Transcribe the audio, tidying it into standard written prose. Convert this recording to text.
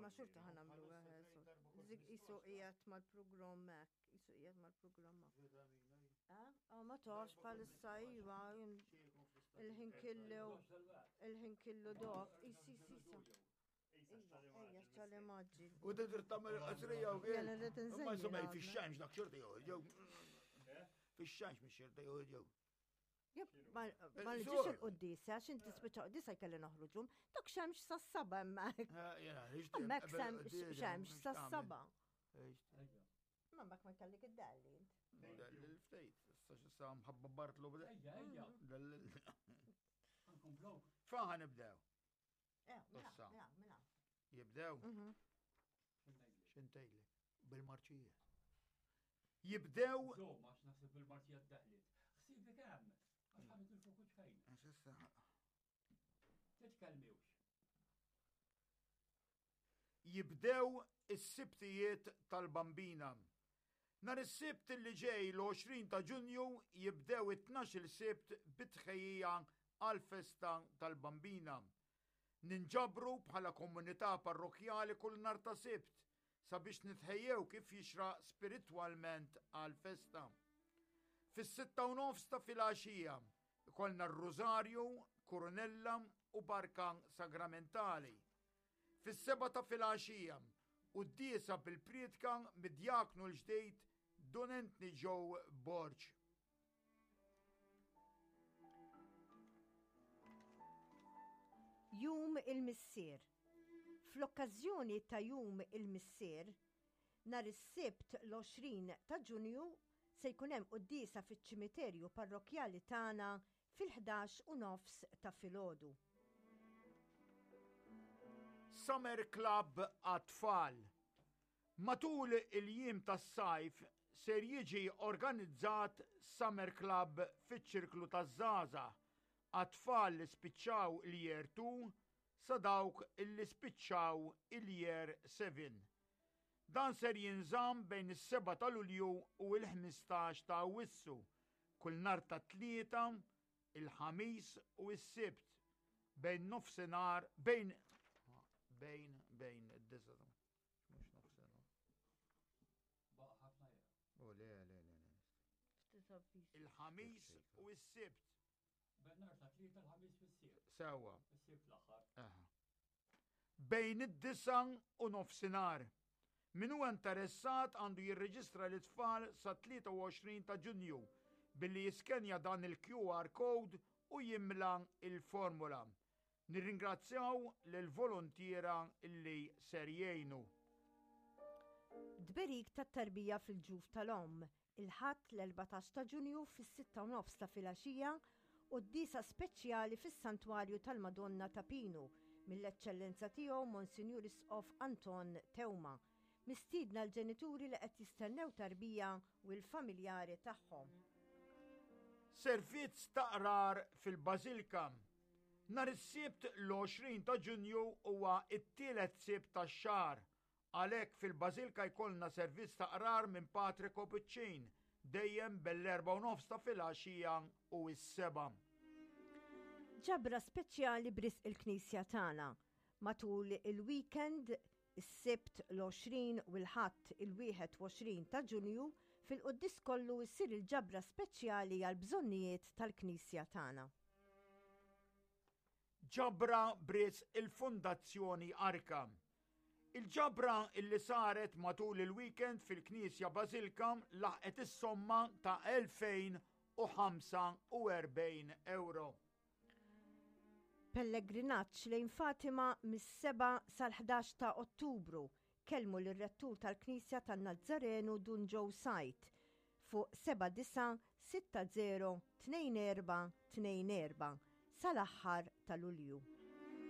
Ma xorta ħa nagħmlu Zik isu qiegħed mal-programm hekk, isu qiegħed mal-programm. Eh? Oh, ma tafx bħalissa iva il-ħin killu il-ħin killu dof. Isi isi isi. Ejja, xċali maġġi. U trid tagħmel qasrija u Jena rrid inżejjen. Ma insomma fix-xemx dak xorta jew. Fix-xemx mhix xorta jew. Ma nġiex il-qoddisa, għax inti spiċċa qoddisa jkelli noħruġum, dak xemx sa saba hemmhekk. Hemmhekk xemx sa saba. Ma mbagħad ma kellek id-dalli. Dalli l-ftejt, issa xissa mħabba Bartlu bda. Ejja, ejja. Faħa nibdew. Eh, mela, mela, mela. Jibdew? Mhm. Xintejli? Bil-marċija. Jibdew. Żomm, għax naħseb bil-marċija ddaħlit. Ħsibi kemm? Għax ħadet il-fokus fejn. Għax issa. Titkellmiwx. Jibdew is-Sibtijiet tal-Bambina. Nhar is-Sibt li ġej l-20 ta' Ġunju jibdew it-tnax-il Sibt bi tħejjija għall-festa tal-Bambina. Ninġabru bħala komunità parrokkjali kull nhar ta' Sibt sabiex nitħejjew kif jixraq spiritwalment għall-festa. Fis-sitta u nofs ta' filgħaxija ikollna r-Rużarju, Kurunella u Barka Sagramentali. Fis-sebgħa ta' filgħaxija, quddiesa bil-prietka mid-djaknu l-ġdid Dun Anthony Joe Borg. Jum il-Missier. Fl-okkażjoni ta' Jum il-Missier, nhar is-Sibt l-20 ta' Ġunju se jkun hemm quddiesa fiċ-ċimiterju parrokkjali tagħna fil-11 u nofs ta' filgħodu. Summer Club għat-tfal. Matul il-jiem tas-sajf ser jiġi organizzat Summer Club fiċ-Ċirklu taż-Żgħażagħ għat-tfal li spiċċaw il-Year 2 sa dawk li spiċċaw il-Year 7. Dan ser jinżamm bejn is-7 ta' Lulju u l-15 ta' Awwissu, kull nhar ta' Tlieta, il-Ħamis u s-Sibt, bejn nofsinhar bejn bejn bejn id-disa' mhux nofsinhar. Baqa' ħafna jew? Oh, le, le, le, le. Il-Ħamis u s-Sibt. Bejn ta' tlieta l-Ħamis fis-Sibt. Sewwa. Is-Sibt l-aħħar. Bejn id-disa u nofsinhar. Min huwa interessat għandu jirreġistra lit-tfal sat-23 ta' Ġunju billi jiskenja dan il-QR code u jimla l-formula. Nirringrazzjaw lill-voluntiera li ser jgħinu. Tberik tat-tarbija fil-ġuf tal-omm, il-Ħadd l-14 ta' Ġunju fis-sitta u nofs ta' filgħaxija, quddiesa speċjali fis-Santwarju tal-Madonna ta' Pinu mill-Eċċellenza Tiegħu Monsinjur Isqof Anton Teuma. Mistiedna l-ġenituri li qed jistennew tarbija u l-familjari tagħhom. Servizz ta' qrar fil-Bażilka. Nhar is-Sibt l-20 ta' Ġunju huwa t-tielet Sibt tax-xahar Għalhekk fil-Bażilka jkollna servizz ta' qrar minn Patri Kopuċċin, dejjem bell-erbgħa u nofs ta' filgħaxija u s-sebgħa. Ġabra speċjali b'risq il-Knisja tagħna. Matul il-weekend, is-Sibt l-20 u l-Ħadd il-21 ta' Ġunju, fil-quddies kollu ssir il-ġabra speċjali għall-bżonnijiet tal-Knisja tagħna. Ġabra b'risq il-Fondazzjoni Arka. Il-ġabra illi saret matul il-weekend fil-Knisja Bażilka laħqet is-somma ta' 2045 ewro. Pellegrinaġġ lejn Fatima mis-7 sal-11 ta' Ottubru. Kellmu lir-Rettur tal-Knisja tan-Nazzarenu Dun Joe Said fuq 7960 24 24 sal-aħħar ta' Lulju.